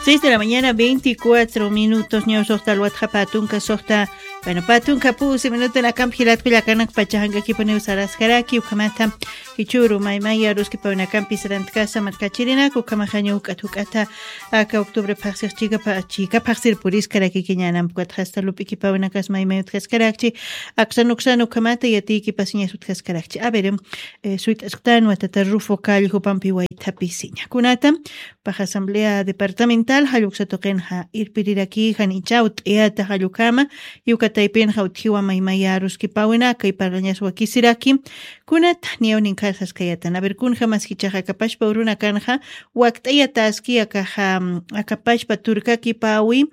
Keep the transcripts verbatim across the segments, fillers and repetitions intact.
Seis de la mañana, veinticuatro minutos, ñaw soxta alwatxa patunka soxta, bueno, patunka pusi minuto nakampi jilatku llakanak pachajankakipuniw saraskaraki, ukamata, kichuru, maymaya, ruski pawinakampi sarantkasa, markachirinak, ukamajaña uk'at uk'ata, aka octubre paxsix chika pa, chika paxsir puriskaraki kiñanam, pukat hasta lup'iki pawinakas maymay utkaskarakchi, aksan uksan ukamata, yatiki pasiñas utkaskarakchi. A ver, em, eh, suyt'asktan watata Rufo Cali jupampi waytapisiña. Kunata, pax Asamblea Departamental, jalluksa tuqinxa irpiriraki, janichaw t'iyata jallukama, yuka taypinxa utjiwa maymaya ruskipawinaka, y parlañas wakisiraki. Kunata, niyaw ninkarsaskayatan. A ver, kunjamas jichaxa akapashpa urunakanxa, wakt'ayataski akaxa, mm, akapashpa turkakipawi,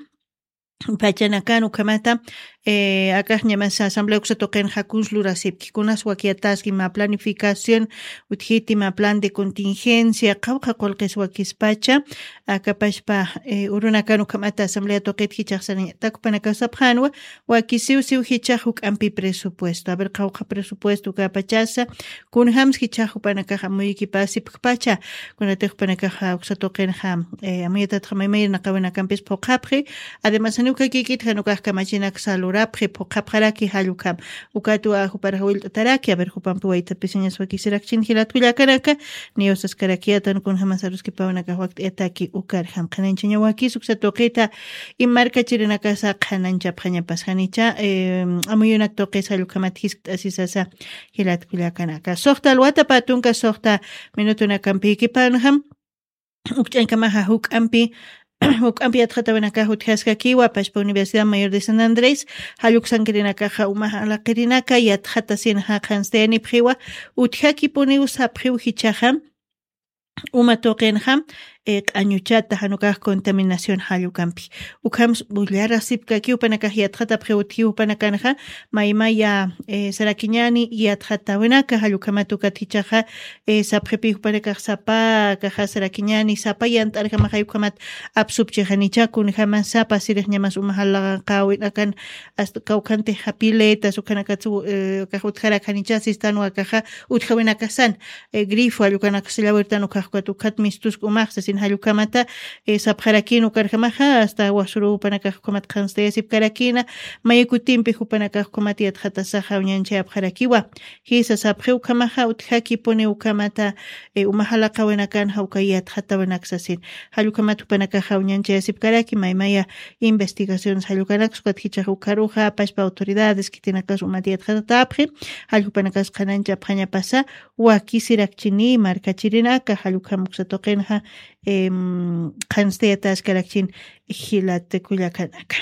pachanakan ukamata, eh, akax ñamas asamblea uksa tuqinxa kuns lurasipki, kunas wakiyataski, mä planificación, utjiti mä plan de contingencia, qawqha qullqis wakispacha, akapashpa, eh, urunakan ukamata asamblea tuqit jichax sarañatak jupanakax sapxanwa, wakisiw siw jichax juk'ampi presupuesto. A ver, qawqha presupuesto ukapachasa, kunjams jichax jupanakax amuyikipasipkpacha, kunatix jupanakax uksa tuqinxa, eh, amuyatatxa maymayr naqawinakampis phuqhapxi, además, janiw kakikit jan ukax kamachinak salurapxi, phuqhapxaraki jall ukham. Ukatwa juparax willt'ataraki, a ver, jupampi waytapisiñas wakisirakchin jilatku llakanaka, niyaw saskarakiyatan kunjamas aruskipawnakax wakt'ayataki ukarjam. Qhanañchaña wakis uksa tuqita, y markachirinakasa qhanañchapxañapas janicha, eh, amuyunak tuqis jall ukhamat jiskt'asisasa jilatku llakanaka. Soxta alwata patunka, soxta minutunakampïkipanjam, ukch'añkamaxa juk'ampi, juk'ampi yatxatawinakax utjaskakiwa, pachpa Universidad Mayor de San Andrés, jalluksankirinakaxa uma alaqirinaka yatxatasinxa qhanstayanipxiwa, utjakipuniw sapxiw jichaxa, uma tuqinxa, eh, q'añuchata, jan ukax contaminación jallukampi. Ukhams bullarasipkakiw jupanakax yatxatapxiw utjiw jupanakanxa, maymaya, eh, sarakiñani yatxatawinaka, jallukhamat ukat jichaxa, eh, sapxipi jupanakax sapa, akaxa sarakiñani, sapa yant'arjamaxay ukhamat apsupchixanicha, kunjamas sapa sirix ñamas uma jalaqawinakan, hasta kawkhantixa piletas, ukhanakatsu, eh, akax utjarakanicha, sistanwa akaxa, utjawinakasan, eh, grifo, jall ukanaksa llawirtan ukax ukat, ukat mistusk umax, sasin jall ukhamata, eh, sapxarakin ukarjamaxa, hasta wasuru jupanakax ukhamat qhanstayasipkarakina, may kutimpi jupanakax ukhamat yatxatasaxa uñanchayapxarakiwa. Jisa sapxi ukhamaxa, utjakipuni ukhamata, eh, uma jalaqawinakanxa uka yatxatawinaksasin. Jall ukhamat jupanakaxa uñanchayasipkaraki, maymaya investigaciones jall ukanaksa ukat jichax ukaruxa, pachpa autoridades khitinakas umat yatxatatapxi, jall jupanakas qhanañchapxañapasa, wakisirakchini, markachirinaka, jall ukham uksa tuqinxa, em, qhanstayataskarakchin jilat kullakanaka.